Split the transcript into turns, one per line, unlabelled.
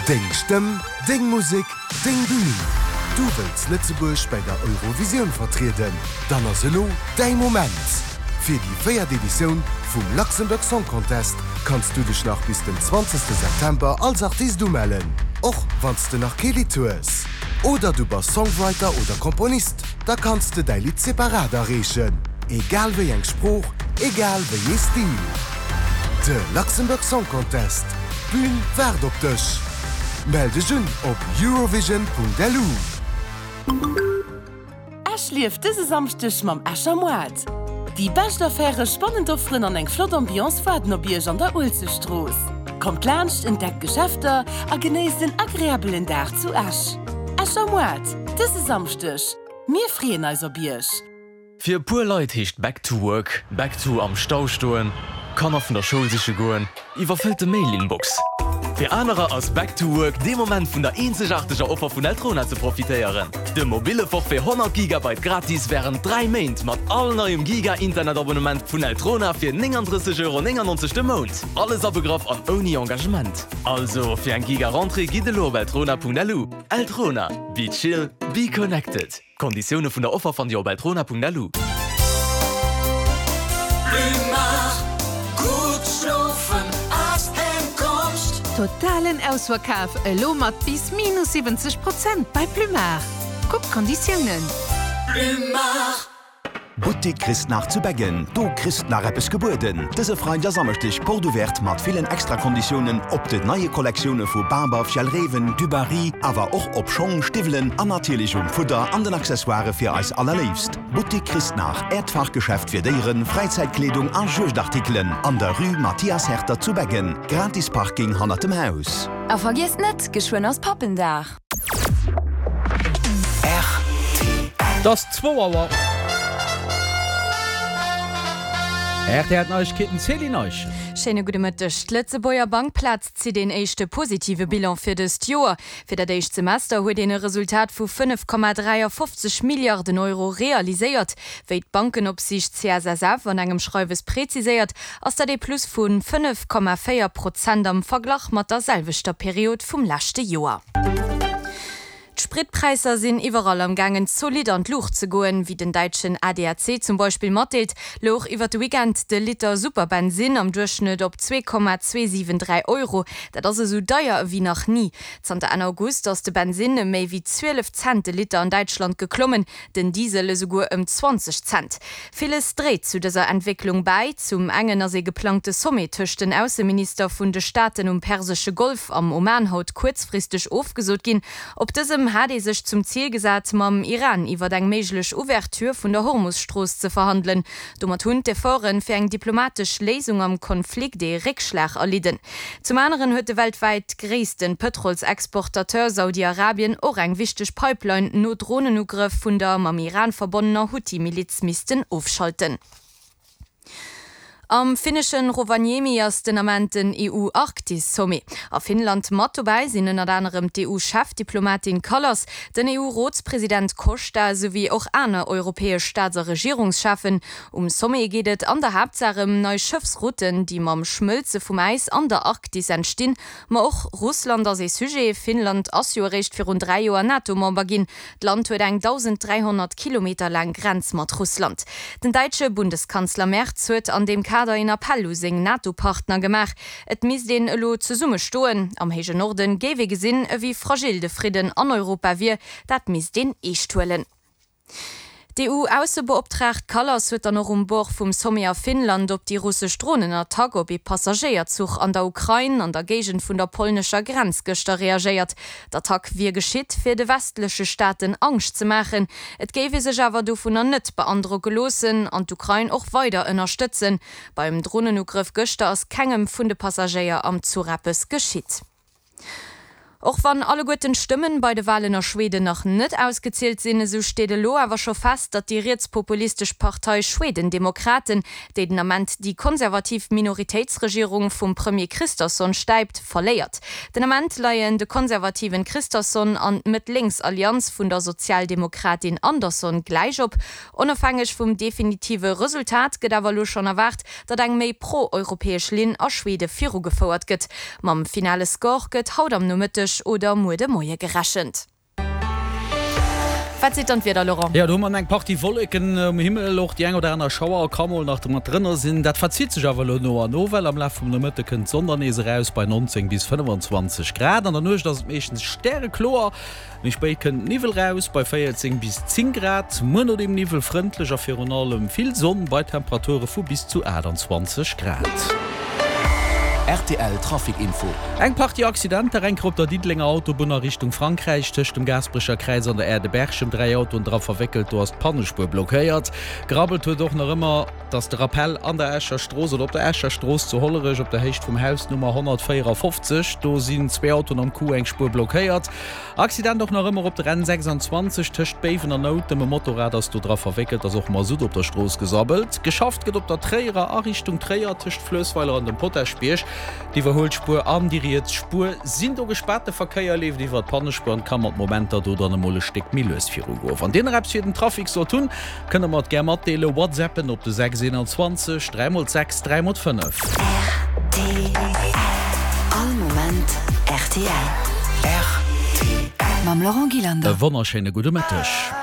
Deng Stëmm, deng Musek, deng Bün! Du wëlls Lëtzebuerg bäi der Eurovisioun vertrieden? Dann ass elo däi Moment! Fir déi véiert Editioun vum Luxembourg Song Contest kanns du dech nach bis den 20 September als Artist umellen, och wann s de nach kee Lidd hues. Oder du bass Songwriter oder Komponist, da kanns de däi Lidd separat areechen, egal wéi eng Sprooch, egal wéi ee Stil. De Luxembourg Song Contest, d'Bün waart op dech! Mell dech un op eurovision.lu.
Esch lieft dëse Samschdeg mam Escher Moart. Déi bescht Affäre, spannend Offeren an eng flott Ambiance waarden op Iech an der Uelzechtstrooss. Kommt laanscht, entdeckt d'Geschäfter a genéisst en agreabelen Dag zu Esch. Escher Moart, dëse Samschdeg. Mir freeën eis op Iech!
Fir e puer Leit heescht Back to work, back to am Stau stoen, Kanner vun der Schoul siche goen, iwwerfëllte Mail-Inbox. Fir anerer ass Back to work dee Moment vun der eenzegaarteger Offer vun Eltrona ze profitéieren, dem mobille Forfait 100 Gigabyte gratis wärend 3 Méint mat all neiem Giga-Internet-Abonnement vun Eltrona fir 39,99 Euro de Mount. Alles abegraff an ouni Engagement. Also fir eng Giga-Rentrée gitt elo op eltrona.lu. Eltrona, be chill, be connected. D'Konditioune vun der Offer fannt Dir op eltrona.lu.
Totalen Ausverkaf elo mat bis minus 70 Prozent bei Plumard. Kuck d'Konditiounen.
Boutique Christnach zu Beggen, do kriss d'nach eppes gebueden! Dëse Freideg a Samschdeg Porte Ouverte mat villen Extrakonditiounen op den neie Kollektioune vu Barber, Fjällräven, Dubarry, awer och op Schong, Stiwwelen an natierlech um Fudder an den Accessoirë fir eis Allerléifst. Boutique Christnach, Äert Fachgeschäft fir Déieren, Fräizäitkleedung a Juegdartikelen an der Rue Mathias Herter zu Beggen. Gratis Parking hannert dem Haus.
A vergiesst net, geschwënn ass Pappendag!
Et ass zwou Auer. RTL Neiegkeeten, Céline Eischen.
Schéine gudde Mëtteg. D'Lëtzebuerger Bankplaz zitt een éischte positive Bilan fir dëst Joer. Fir dat éischt Semester huet een e Resultat vu 5,53 Milliarden Euro realiséiert. Wéi d'Bankenopsiicht CSSF an engem Schreiwes preziséiert, ass dat ee Plus vu 5,4 Prozent am Verglach mat der selwechter Period vum leschte Joer. D'Spritpräisser sinn iwwerall am gaangen zolidd an d'Luucht ze goen. Wéi den däitschen ADAC zum Beispill matdeelt, louch iwwer de Weekend de Liter Superbensinn am Duerchschnëtt op 2,273 Euro. Dat ass esou deier ewéi nach ni. Zanter Enn August ass de Bensinn ëm méi wéi 12 Cent de Liter an Däitschland geklommen. Den Diesel esouguer ëm 20 Cent. Villes dréit zu dëser Entwécklung bäi. Zum engen ass ee geplangte Sommet tëscht den Ausseminister vun de Staaten um persesche Golf am Oman haut kuerzfristeg ofgesot ginn. Op dësem hat ee sech zum Zil gesat, mam Iran iwwer eng méiglech Ouverture vun der Hormus-Strooss ze verhandelen. Domat hunn d'Efforte fir eng diplomatesch Léisung am Konflikt ee Réckschlag erlidden. Zum aneren huet de weltwäit gréisste Pëtrolsexportateur Saudi-Arabien och eng wichteg Pipeline no Dronenugrëff vun der mam Iran verbonnener Huthi-Miliz missten ofschalten. Am finnesche Rovaniemi ass den Ament den EU-Arktis-Sommet. A Finnland mat dobäi sinn ënnert anerem d'EU-Chefdiplomatin Kallas, den EU-Rotspresident Costa souwéi och aner europäesch Staats a Regierungscheffen. Um Sommet geet et an der Haaptsaach ëm nei Schëffsrouten, déi mam Schmëlze vum Äis an der Arktis entstinn. Ma och Russland ass ee Sujet. Finnland ass jo eréischt virun 3 Joer NATO-Member ginn. D'Land huet eng 1.300 Kilometer laang Grenz mat Russland. Den däitsche Bundeskanzler Merz huet an deem Kader een Appell u seng NATO-Partner gemaach, Et misst een elo zesumme stoen. Am héije Norden géif ee gesinn, ewéi fragil de Fridden an Europa wier. Dat misst een eescht huelen. D'EU-Aussebeoptraagt Kallas huet dann och um Bord vum Sommet a Finnland op déi russesch Dronenattack op ee Passagéierzuch an der Ukrain an der Géigend vun der polnescher Grenz gëschter reagéiert. D'Attack wier geschitt, fir de westleche Staaten Angscht ze maachen. Et géif ee sech awer dovunner net beandrocke loossen an d'Ukrain och weider ënnerstëtzen. Beim Dronenugrëff gëschter ass kengem vun de Passagéier am Zuch eppes geschitt. Och wann alleguerten d'Stëmmen bei de Walen a Schweden nach net ausgezielt sinn, esou steet elo awer scho fest, datt déi rietspopulistesch Partei Schwedendemokraten, déi den Ament déi konservativ Minoritéitsregierung vum Premier Kristersson stäipt, verléiert. Den Ament leien de konservativen Kristersson an d'Mëtt-Lénks-Allianz vun der Sozialdemokratin Andersson gläich op. Onofhängeg vum definitive Resultat gëtt awer elo schonn erwaart, datt eng méi pro-europäesch Linn a Schwede virugefouert gëtt. Mam finale Score gëtt haut am Nomëtteg. Nomëtteg oder muer de Moie gerechent. Wat seet dann d'Wieder, Laurent?
Jo, do hu mer eng Partie Wolleken um Himmel, och déi eng oder aner Schauer ka mol nach mat drënner sinn. Dat verzitt sech awer elo no an no, well am Laf vum Nomëtte kënnt d'Sonn dann nees eraus bei 19 bis 25 Grad. An der Nuecht ass et meeschtens stärekloer. Méi spéit kënnt Niwwel raus bei 14 bis 10 Grad. Muer no dem Niwwel frëndlech a virun allem vill Sonn bei Temperature vu bis zu 28 Grad.
Rtl Trafic Info.
Eng Partie Accidenter, eng Kéier op der Diddelenger Autobunn a Richtung Frankräich, tëscht dem Gaasperecher Kräiz an der Aire de Berchem, 3 Autoen dra verwéckelt, do ass d'Pannespuer blockéiert. Grabbelt huet och nach ëmmer. Dass de Rappel an der Escher Strooss oder op der Escher Strooss zu Hollerech op der Héicht vum Haus Nummer 154, do sinn zwee Autoen am Coup, eng Spuer blockéiert. Accident och nach ëmmer op der N 26 tëscht Béiwen an Noutem, e Motorrad ass do dra verwéckelt, ass och Masutt op der Strooss gesabbelt. Geschafft gëtt op der Tréierer a Richtung Tréier tëscht Fluessweiler an dem Potaschbierg. D'Iwwerhuelspuer an déi riets Spuer sinn do gespaart. De Verkéier leeft iwwer d'Pannespuer an ka mat Momenter do dann emol e Stéck méi lues virugoen. Wann Dir nach eppes fir den Trafic sollt hunn, Kënnt der mer et gär matdeelen, whatsappen op de 6 21 3 mol 6 3 mol 5.
Rtl All Moment rtl. Rtl Mam Laurent Gillander.
E wonnerschéine gudde Mëtteg.